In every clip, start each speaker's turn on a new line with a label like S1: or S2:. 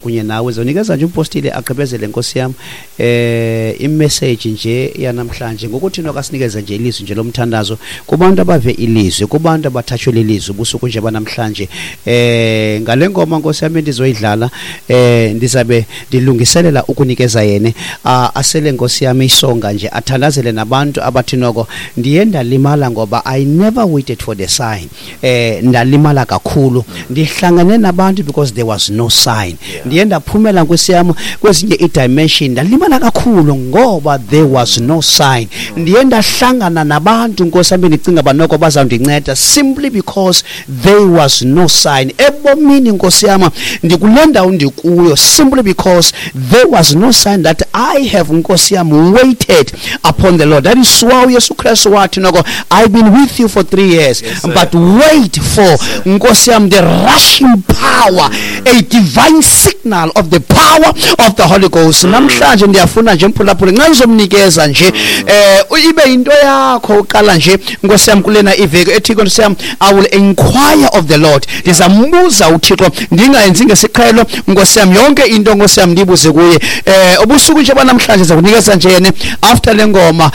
S1: Kunye nawe zonikeza nje umpostile agqibezele, nkosi yam, imessage nje yanamhlanje ngokuthi nokasinikeze nje ilizwi nje lomthandazo kubantu abave ilizwi, kubantu abathatshwe lilizwi ubusuku nje banamhlanje. Ngale ngoma, nkosi yam, endizoyidlala, ndizabe ndilungiselela ukunikeza yene asele, nkosi yam, isonga nje athandazele nabantu abathi noko ndiye ndalimala ngoba I never waited for the sign. Ndalimala kakhulu, ndihlangane nabantu because there was no sign. Ndiye ndaphumela, nkosi yam, kwezinye i-dimension, ndalimala kakhulu ngoba there was no sign. Ndiye ndahlangana nabantu, nkosi yam, bendicinga uba noko bazawundinceda simply because there was no sign. Ebomini, nkosi yam, ndikule ndawo ndikuyo simply because there was no sign that I have, nkosi yam, waited upon the Lord. That is why uYesu Kristu wathi noko, "I've been with you for 3 years,
S2: sir.
S1: but wait for, nkosi yam, the rushing power, a divine signal of the power of the Holy Ghost." Namhlanje ndiyafuna nje, mphulaphuli, nxa ndizomnikeza nje ibe yinto yakho uqala nje, nkosi yam, kulena iveki ethi, nkosi yam, I will inquire of the Lord. Ndizambuza uThixo, ndingayenzi ngesiqhelo, nkosi yam, yonke into, nkosi yam, ndibuze kuye. Ubusuku nje banamhlanje zakunikeza nje yene after le ngoma,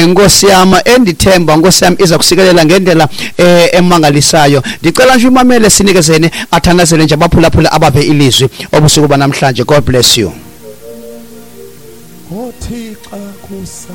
S1: nkosi yam, endithemba, nkosi yam, iza kusikelela ngendlela emangalisayo. Ndicela nje umamele, sinikezene athandazele nje abaphulaphula abave ilizwi obusuku banamhlanje. God bless you.
S3: Othi xa kusa